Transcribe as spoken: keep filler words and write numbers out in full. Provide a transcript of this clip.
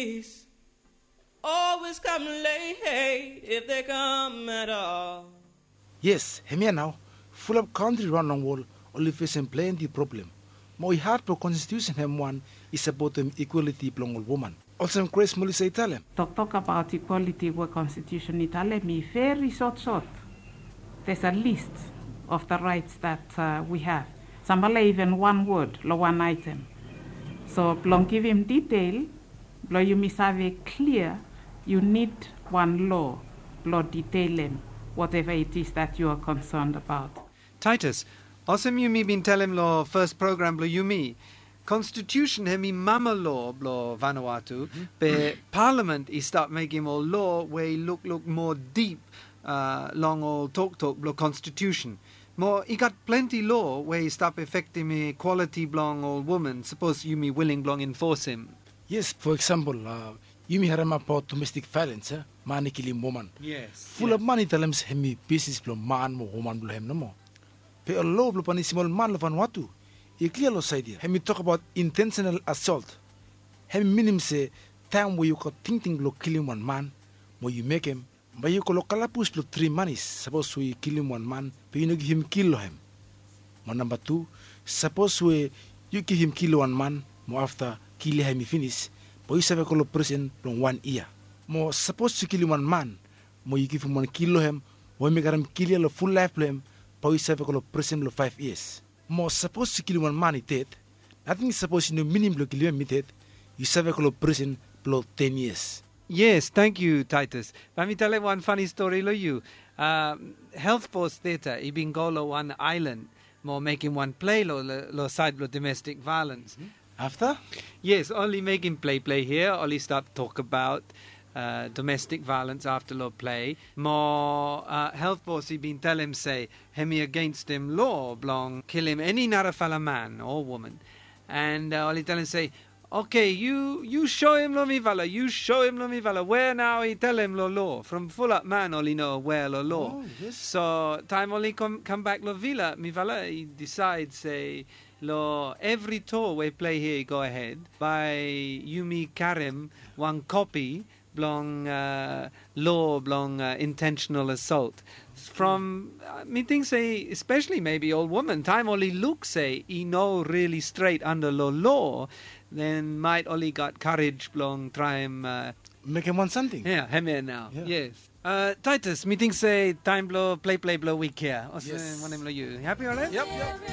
Police always come late if they come at all. Yes, hemia nao. Fulap kantri raon long wol oli fesem plenti problem. Mo i had blong konstitusen hem wan i sapotem ikwaliti blong ol woman. Olsem Grace Melissa i talem. Toktok abaot ikwaliti we konstitusen i talem i veri sotsot. There's a list of the rights that uh, we have. Sambala iven wan wod long wan aetem. So blong givim detail blong yumi save klia, yu nid wan lo blong detailem whatever it is that you are concerned about. Titus, olsem yumi bin talem long fes program blong yumi, konstitusen hem i mama lo blong Vanuatu, be palament i stap mekem ol lo we i lukluk moa dip long ol toktok blong konstitusen. Mo i gat plenti lo we i stap afektem ikwaliti blong ol woman sapos yumi wiling blong enfosem. Yes, fo eksampol, yumi harem abaot domestik vaelens, man i kilim woman. Fulap man i talem se hem i bisnis blong man mo woman blong hem nomo. Be ol lo blong panisim ol man long Vanuatu i klia long saed ya. Hem i tok abaot intensenal asolt. Hem i minim se taem we yu gat tingting blong kilim wan man mo yu mekem, bae yu go long kalabus blong tri manis sapos we yu kilim wan man be yu no givim kil long hem. Mo namba tu, sapos we yu givim kil long wan man mo afta kil ya hem i finis, bae yu save go long prisen blong wan yia. Mo sapos yu kilim wan man mo yu givim wan kil long hem, mo hem i karem kil ya long ful laef blong hem, bae yu save go long prisen blong faef yias. Mo sapos yu kilim wan man i ded, nating sapos i no minim blong kilim hem i ded, yu save go long prisen blong ten yias. Yes, tangkiu Taitus. Bae mi talem wan fani stori long yu. Health Force Theatre i bin go long wan aelan mo mekem wan plei long saed blong domestik vaelens. Afta? Yes, oli mekem plei plei hia, oli stap tok abaot domestik vaelens afta long plei. Mo Health Force i bin talem se hem i agenstem lo blong kilim eni narafala man o woman. And oli talem se, oke, yu soem long mifala, yu soem long mifala we nao i talem long lo. From fulap man oli no awea long lo. So taem oli kambak long vila, mifala i disaed se long evri toa we plei hia i gohed, bae yumi karem wan kopi blong lo blong intensenal asolt. From mi ting se espesali mebi ol woman, taem oli luk se i no rili stret anda long lo, den maet oli gat karej blong traem mekem wan samting. Ya, hemia nao. Yes. Taitus, mi ting se taem blong plei plei blong wik ya. Olsem wanem long yu? Hapi orait?